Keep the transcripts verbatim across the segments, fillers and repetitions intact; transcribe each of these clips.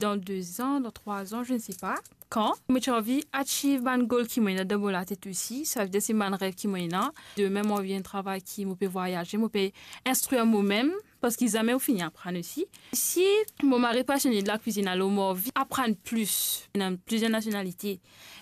Dan de zan, dan trwa zan, je ne sais pas kan, mo ti anvi achieve bann goal ki mo ena dan mo latet osi. Savedir se bann rev ki mo ena. Demin mo anvi enn travay ki mo pe vwayaze, mo pe instrir momem, parski zame ou fini aprann osi. Si mo mari pasione de lakwizinn, alor mo anvi aprann plis. Ena plizier nasionalite,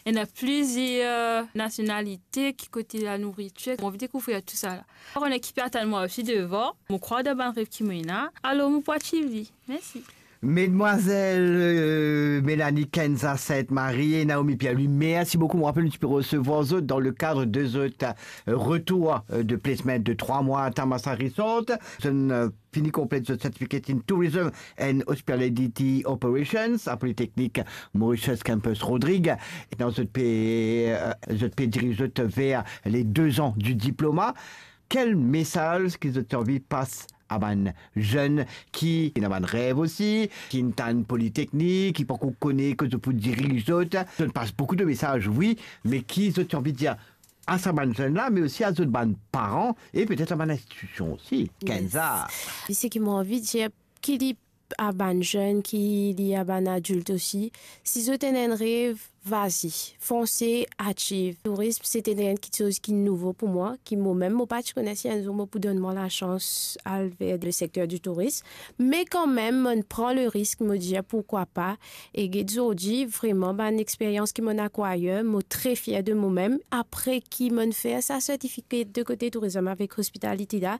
ena plizier nasionalite ki kote lanouritir. Mo anvi dekouvrir tou sa la. Mo kone ki pe atann mwa osi devan. Mo krwar dan bann rev ki mo ena, alor mo pou achieve li. Mersi. Mesdwazèl, euh, Mélanie Kenza Sainte-Marie e Naomi Pierre-Louis, mersi boukou. Mo rapel nou ti pe resevwar zot dan le kad de zot, euh, retour, euh, de placement de trwa mwa a Thammasat Resort. Zot, euh, fini konplet zot Certificate in Tourism and Hospitality Operations a Polytechnic Mauritius Campus Rodrigues. E dan zot pe, euh, zot pe diriz zot ver les deux ans du diplôme. Kel mesaz ki zot ti anvi pas a bann zenn ki ena bann rev osi, ki inn tann Politeknik, ki pankor kone kot zot pou diriz zot? Zot pas boukou de mesaz, wi, me ki zot ti anvi dir a sa bann zenn la, me osi a zot bann paran e petet a bann institision osi? Kenza. Yes. Seki mo anvi dir, ki li a bann zenn, ki li a bann adilt osi, si zot ena enn rev, vazi, fonse, achieve. Tourism, se ti enn kiksoz ki nouvo pou mwa, ki momem mo pa ti kone si enn zour mo pou donn mwa lasans al ver le secteur du tourisme. Me kanmem, mo'nn pran le risk, mo dir, pourkwa pa? E get zordi, vreman, bann experyans ki mo'nn akwayir, mo tre fier de momem. Apre ki mo'nn fer sa certificate de kote tourism avek hospitality la,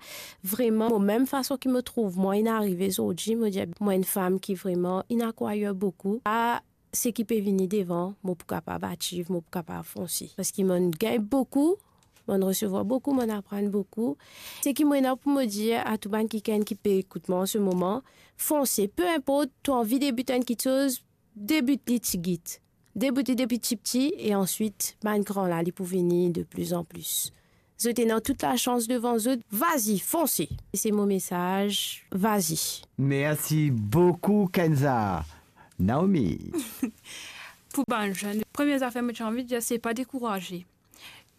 vreman, momem fason ki mo trouv mwa inn arive zordi, mo dir, mwa enn fam ki vreman inn akwayir boukou. A seki pe vini devan, mo pou kapav achieve, mo pou kapav fonse. Parski mo'nn gagn boukou, mo'nn resevwar boukou, mo'nn aprann boukou. Seki mo ena pou mo dir a tou bann kikenn ki pe ekout mwa an se moman, fonse, pe inport to anvi debit enn kiksoz, debit li tigit. Debit li depi tipti e answit, bann gran la, li pou vini de plus en plus. Zot ena tout lasans devan zot, vazi, fonse. Se mo mesaz, vazi. Mersi boukou, Kenza. Naomi. Pou bann zenn, premie zafer mo ti anvi dir, se pa dekouraze.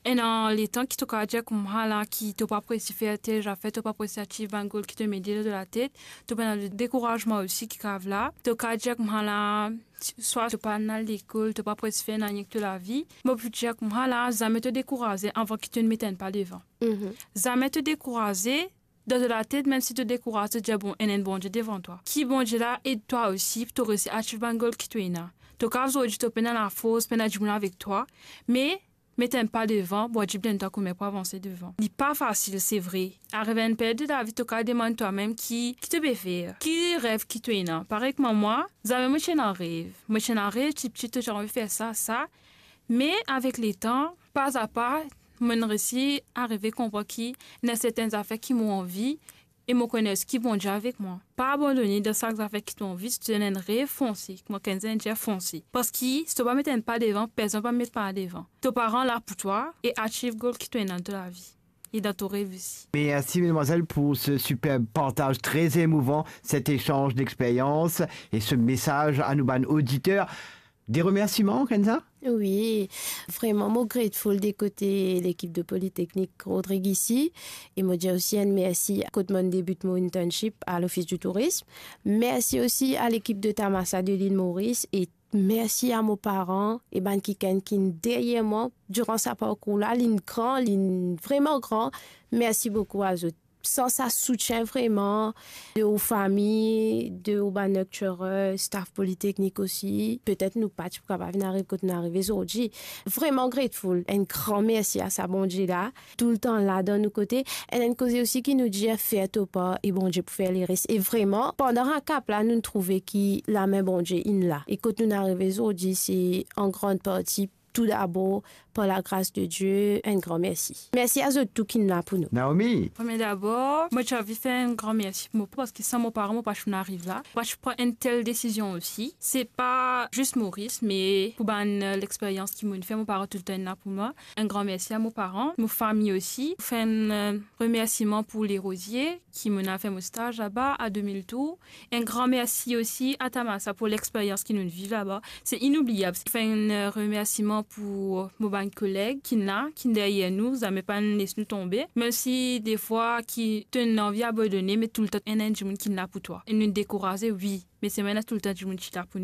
Ena letan ki to kapav dir koumsa la ki to pa pou resi fer tel zafer, to pa pou resi achieve bann goal ki to mete dan to latet, to pena dekourazman osi ki kapav la. To kapav dir koumsa la, swa to pa'nn al lekol, to pa pou resi fer nanye ek to lavi. Mo pou dir koumsa la, zame to dekouraze avan ki to met enn pa devan. Mhm. Zame to dekouraze, dan to latet, mem si to dekouraze, to dir, bon, ena enn Bondie devan twa. Ki Bondie la ed twa osi pou to resi achieve bann goal ki to ena. To kapav zordi to pena lafors, pena dimoun avek twa, me met enn pa devan, Bondie pou donn twa kouma pou avanse devan. Li pa fasil, se vre. Arive enn period de lavi, to kapav demann twa-mem ki, ki to pe fer, ki rev ki to ena. Parey kouma mwa, zame mo ti ena rev. Mo ti ena rev, tipti, to ti anvi fer sa, sa. Me avek letan, pa a pa, mo'nn resi arive konpran ki ena sertin zafer ki mo anvi, e mo kone ki Bondie avek mwa. Pa abandone dan sa zafer ki to anvi, si to ena enn rev, fonse. Kouma Kenza inn dir, fonse. Parski si to pa met enn pa devan, personn pa met pa devan. To paran la pou twa e achieve goal ki to ena dan to lavi e dan to rev osi. Merci, mesdemoiselles, pour ce superbe partage très émouvant, cet échange d'expériences et ce message à nos bann auditeurs. Des remerciements, Kenza? Wi, vreman, mo grateful de kote lekip de Politeknik Rodrigues isi. E mo dir osi enn mersi kot mo'nn debit mo internship a Lofis di Tourism. Mersi osi a lekip de Thammasat de Lil Moris e mersi a mo paran e bann kikenn ki'nn deryer mwa diran sa parkour la. Li'nn gran, li'nn vreman gran. Mersi boukou a zot. San sa soutien vreman de ou fami, de ou bann lecturer, staff Politeknik osi, petet nou pa ti pou kapav vinn ariv kot nou arive zordi. Vreman grateful. Enn gran mersi a sa Bondie la, toultan la dan nou kote. Enn, enn koze osi ki nou dir, fer to par e Bondie pou fer leres. E vreman, pandan sa kap la, nou trouve ki lame Bondie inn la. E kot nou arive zordi, se an gran parti tou dabor par lagras de Die, enn gran mersi. Mersi a zot tou ki'nn la pou nou. Naomi. Premie dabor, mo ti anvi fer enn gran mersi pou mo paran, parski san mo paran, mo pa ti pou ariv la. Mo pa ti pou pran enn tel desizion osi. Se pa zis Moris, me pou bann, euh, lexperyans ki mo'nn fer, mo paran toultan inn la pou mwa. Enn gran mersi a mo paran, mo fami osi. Fer enn, euh, remersiman pou Lerozier, ki mo'nn al fer mo staz laba a de mil tour. Enn gran mersi osi a Thammasat pou lexperyans ki nounn viv laba. Se inoubliab. Fer enn, euh, remersiman pou, euh, mo bann koleg ki'nn la, ki'nn deryer nou, zame pa'nn les nou tonbe. Mem si defwa ki to'nn anvi abandone, me toultan ena enn dimoun ki'nn la pou twa. E nounn dekouraze, wi, me selman ena toultan dimoun ki la pou nou.